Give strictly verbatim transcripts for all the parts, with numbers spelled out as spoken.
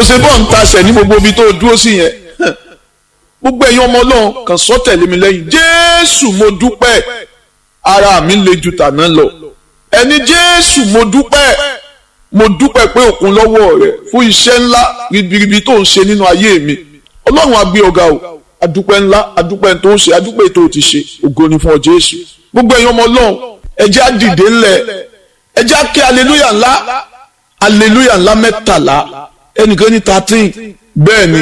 Ṣe bọ́ ń tasẹ̀ ní gbogbo ibi tó dúró sí yẹn. Gbogbo ẹ̀yin ọmọ Ọlọ́run kàn sọ tẹ̀lé mi lẹ́yìn. Jésù mo dúpẹ́, ara mi le ju tàná lọ. Ẹni Jésù mo dúpẹ́, mo dúpẹ́ pé òkun lọ́wọ́ rẹ̀ fún iṣẹ́ ńlá ribiribi tó ń ṣe nínú ayé mi. Ọlọ́run á gbé ọ̀gá o, adúpẹ́ ńlá, adúpẹ́ tó ń ṣe, adúpẹ́ tó ti ṣe, ògo ni fún ọ Jésù. Gbogbo ẹ̀yin ọmọ Ọlọ́run, ẹ jẹ́ á dìde ńlẹ̀, ẹ jẹ́ á ké aleluya ńlá, aleluya ńlá mẹ́tàlá, ẹnìkan ní thirteen, bẹ́ẹ̀ ni.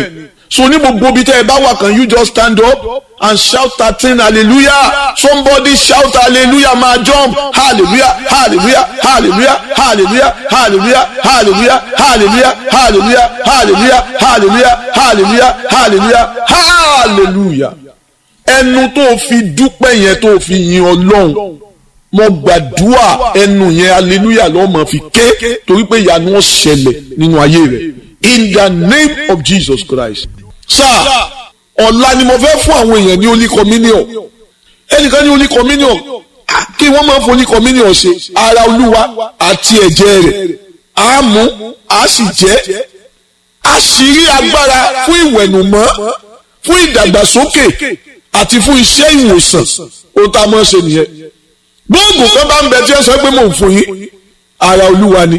So ní gbogbo ibi tẹ́ ẹ bá wà, can you just stand up and shout thirteen hallelujah? Somebody shout hallelujah, máa jump hallelujah, hallelujah, hallelujah, hallelujah, hallelujah, hallelujah, hallelujah, hallelujah, hallelujah, hallelujah, hallelujah, hallelujah, hallelujah. Ẹnu tó fi dúpẹ́ yẹn, tó fi yin Ọlọ́run, mo gbàdúrà ẹnu yẹn hallelujah ló máa fi ké, torí pé ìyanu ó ṣẹlẹ̀ nínú ayé rẹ̀. In the name of Jesus Christ. Sáà ọ̀la ni mo fẹ́ fún àwọn èèyàn ní Holy Communion. Ẹnìkan ní Holy Communion, kí wọ́n máa ń fún Holy Communion ṣe? Ara Olúwa àti ẹ̀jẹ̀ rẹ̀ á mú, á sì jẹ́ àṣírí agbára fún ìwẹ̀nùmọ́, fún ìdàgbàsókè àti fún iṣẹ́ ìwòsàn. Ohun tá a máa ń ṣe nìyẹn. Gbóògùn kan bá ń bẹ tí ẹ sọ pé mò ń fún yín, ara Olúwa ni.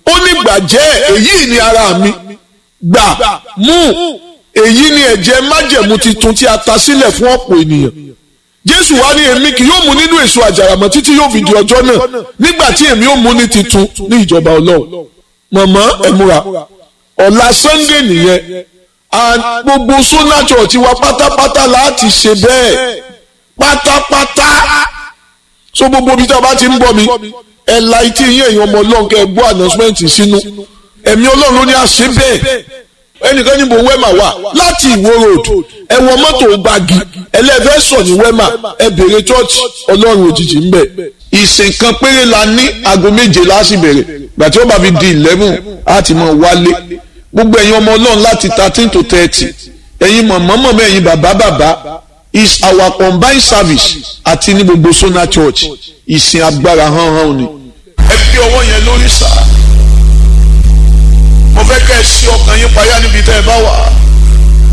Ó ní gbàjẹ́, èyí ni ara mi, gbà mú, èyí ni ẹ̀jẹ̀ májẹ̀mú titun tí a ta sílẹ̀ fún ọ̀pọ̀ ènìyàn. Jésù wá ní, èmi kì yóò mu nínú èso àjàrà mọ́ títí yóò fi di ọjọ́ náà nígbà tí èmi ó mu ní titun ní ìjọba Ọlọ́run. Mọ̀mọ́, ẹ múra, ọ̀la Sunday nìyẹn. And gbogbo Sona Church wa pátápátá láti ṣe bẹ́ẹ̀ pátápátá. So gbogbo ibi tí a bá ti ń bọ̀ mi, ẹ la etí yín, ẹ̀yin ọmọ Ọlọ́run, kẹ́ ẹ gbọ́ announcement sínú. Ẹ̀mí Ọlọ́run ló ní àṣẹ bẹ́ẹ̀. Ẹnìkan níbo Wema wà? Láti Ìwó Road, ẹ wọ mọ́tò Gbági, ẹlẹ́fẹ́ sọ̀ ní Wema, ẹ bèrè church Ọlọ́run Òjijì ń bẹ̀. Ìsìn kan péré la ní, aago méje la sì bẹ̀rẹ̀. Gbà tí ó bá fi di eleven, á ti mọ̀ wálé. Gbogbo ẹ̀yin ọmọ Ọlọ́run láti thirteen to thirty, ẹ̀yin mọ̀mọ́ mọ̀mọ́, ẹ̀yin bàbá bàbá, is our combined service àti ní gbogbo Sona Church, ìsìn agbára hàn hàn ni. Ẹ fi ọwọ́ yẹn lórí sáà, mo fẹ́ kẹ́ ẹ sí ọkàn yín payá níbi tẹ́ ẹ bá wà.